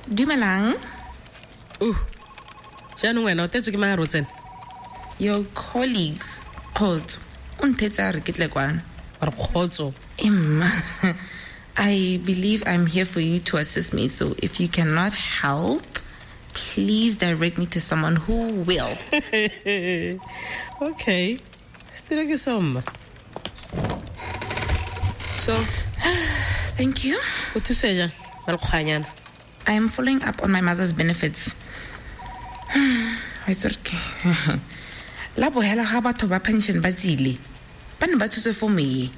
Dumelang. Jaanong wena o tetswe ke mang a re o tsene? Your colleague, Kgotso, o nthetse a re ke tle kwano. Wa re Kgotso? Emma, I believe I'm here for you to assist me, so if you cannot help, please direct me to someone who will. Okay. Setilo ke seo mma. So, Thank you. O thuswe jang? Ba lekgwanyana. I am following up on my mother's benefits. Wa itse gore ke- La bohela ga batho ba pension ba tsile. Ba ne ba tshotse fomo e.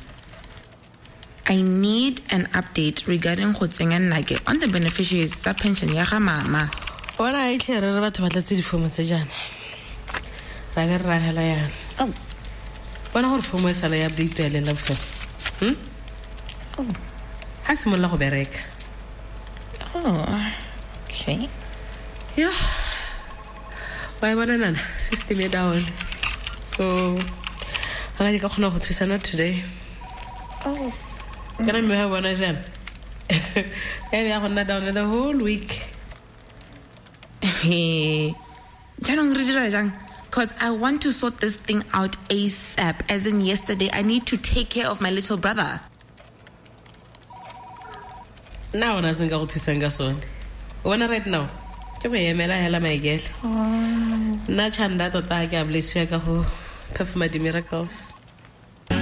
I need an update regarding go tsenya nnake on the beneficiaries tsa pension ya ga mama. Bona e tlhe re re batho ba tlatse difomo tse jaana. Ra be re ragela yana. Oh. Bona gore fomo e sala ya update ya leng la bofelo. Oh. Ha simolola go bereka. Oh. Okay. Yo. Wa e bona nana, system e down. So ga ke ka kgona go thusa not today. Oh. Kana mme ga bona jaana. Ya be ya go nna down the whole week. Jaanong re dira jang? Because I want to sort this thing out ASAP, as in yesterday. I need to take care of my little brother. Nna gona se nka go thusang ka sone. O bona right now, ke go emela hela maikele. Nna Chanda tota ga ke a blessiwa ka go performa di-miracles.